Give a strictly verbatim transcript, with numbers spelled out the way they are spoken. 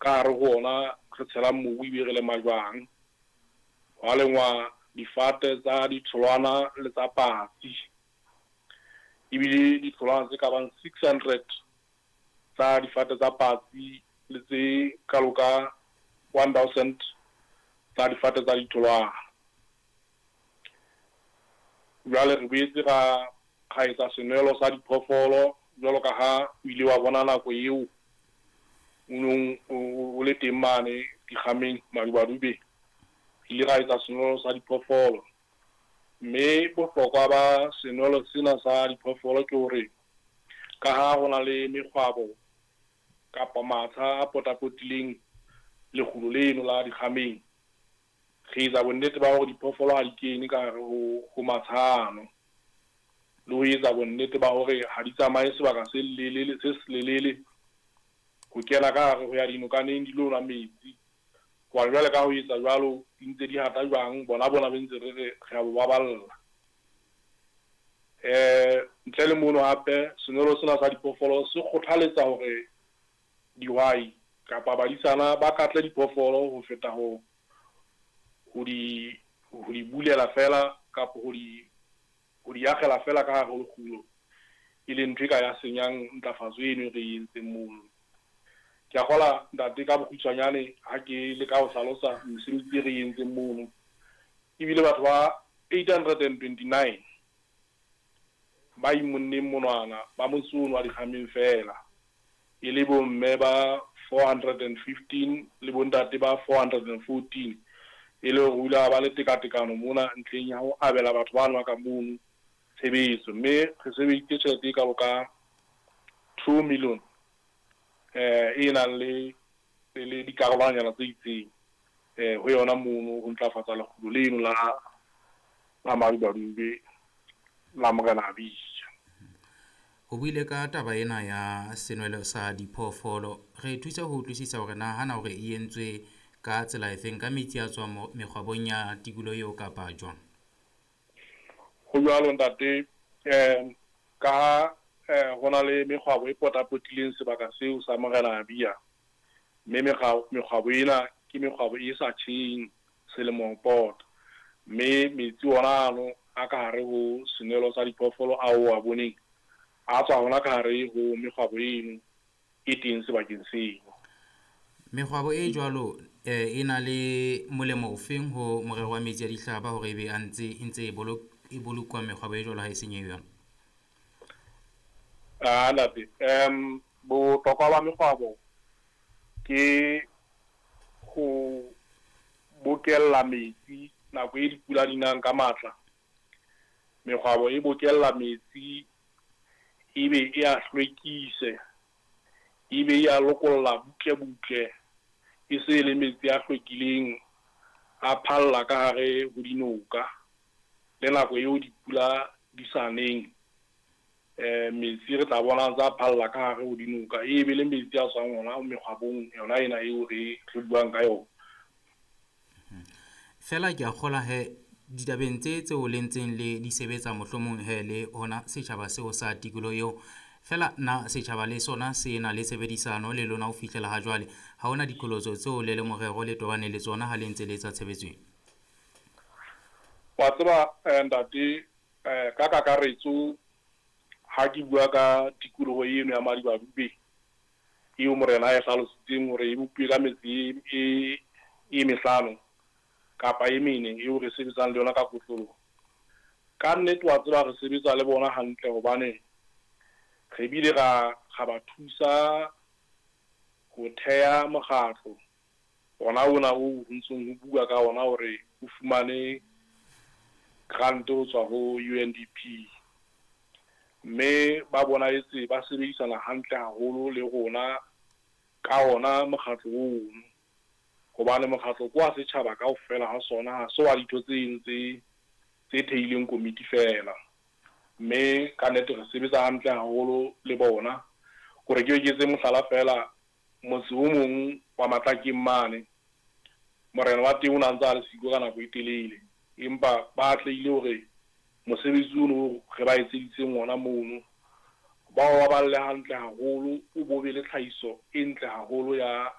Ka hare ho ona re tshela mobu ebe re lema jwang. Hwa lengwa difate tsa ditholwana le tsa patsi. Ebile ditholwana tse ka bang six hundred tsa difate tsa patsi le tse kalo ka one thousand tsa difate tsa ditholwana. Jwale re boetse ra ra etsa senwelo sa diphoofolo jwalo ka ha o ile wa bona nako eo o nong o le teng mane dikgameng Madubadube. Re ile ra etsa senwelo sa diphoofolo, mme bohlokwa ba senwelo sena sa diphoofolo ke hore ka ha ho na le mekgwabo kapa matsha a potapotileng lekgulo leno la dikgameng, re etsa bonnete ba hore diphoofolo ha di kene ka hare ho ho matsha ano. Le ho etsa bonnete ba hore ha di tsamaye sebaka se lelele se selelele ho kena ka hare ho ya dinokaneng di lo nwa metsi. Hobane jwale ka ho etsa jwalo di ntse di hata jwang, bona bona be ntse re re re a bo baballa. Eh ntle le mono hape senwelo sena sa diphoofolo se kgothaletsa hore dihwai kapa badisana ba katle diphoofolo ho feta ho ho di ho di bulela fela kapa ho di ho di akgela fela ka hare ho lekgulo, e leng ntho e ka ya senyang ntlafatso eno e re e entseng mono. Ke a kgola ntate ka bokgutshwanyane ha ke leka ho hlalosa mesebetsi e re e entseng mono. Ebile batho ba eight hundred and twenty-nine ba imonneng monwana ba motse ono wa dikgameng fela, e le bomme ba four hundred and fifteen le bontate ba four hundred and fourteen, e le hore ho ile ha ba le tekatekano mona ntlheng ya ho abela batho ba nwa ka mono tshebetso. Mme re sebedisitse tjhelete e kalo ka two million eh e nang le le dikarolwanyana tse itseng eh ho yona mono ho ntlafatsa lekgulo leno la la Madubadube la Morena Abija. O buile ka taba ena ya senwelo sa diphoofolo. Re thuse ho utlwisisa hore na hana hore e entswe ka tsela efeng, ka metsi a tswang mekgwabong ya tikoloho eo kapa jwang? Ho jwalo ntate, eh ka ha eh ho na le mekgwabo e potapotileng sebaka seo sa Morena Abia, mme mekgwabo ena ke mekgwabo e sa tjheng selemo pota, mme metsi ona ano a ka hare ho senwelo sa diphoofolo ao a boneng a tswa hona ka hare ho mekgwabo eno e teng sebakeng seo. Mekgwabo e jwalo eh e na le molemo ofeng ho morero wa metsi a dihlaba hore ebe a ntse e ntse e e bolokwa mekgwabo e jwalo ha e senyehe yona? Ah ntate, em bohlokwa ba mekgwabo ke ho bokella metsi nako e dipula di nang ka matla. Mekgwabo e bokella metsi ebe e a hlwekise, ebe e a lokolla butle butle, e se le metsi a hlwekileng a phalla ka hare ho dinoka. Le nako eo dipula di sa neng, eh metsi re tla bona tsa phalla ka hare ho dinoka, ebe le metsi a tswang hona mekgwabong yona ena eo re re buang ka yona. Fela ke a kgola he ditabeng tse tseo le ntseng le di sebetsa mohlomong he le hona setjhaba seo sa tikoloho eo. Fela na setjhaba le sona se na le tshebedisano le lona ho fihlela ha jwale? Ha hona diqholotso tseo le le morero le tobane le tsona ha le ntse le etsa tshebetso ena? Wa tseba ntate, ka kakaretso ha ke bua ka tikoloho eno ya Madubadube eo morena a e hlalositseng hore e bopuwe ka metsi e e mehlano kapa e mene eo re sebetsang le yona ka kotloloho. Ka nnete wa tseba re sebetsa le bona hantle, hobane re bile ra ra ba thusa ho theha mokgatlo ona ona o ntsong ho bua ka ona hore o fumane grant ho tswa ho U N D P. Mme ba bonahetse ba sebedisana hantle haholo le rona ka ona mokgatlo ono, hobane mokgatlo ke wa setjhaba kaofela ha sona, ha se wa ditho tse tse tse theileng komiti fela. Mme ka nnete re sebetsa hantle haholo le bona. Hore ke eketse mohlala fela, motse o mong wa Matlakeng mane, morena wa teng o na ntse a le siko ka nako e telele, empa ba atlehile hore mosebetsi ono re ba etseditseng ona mono ba o baballe hantle haholo, o bo be le tlhahiso e ntle haholo ya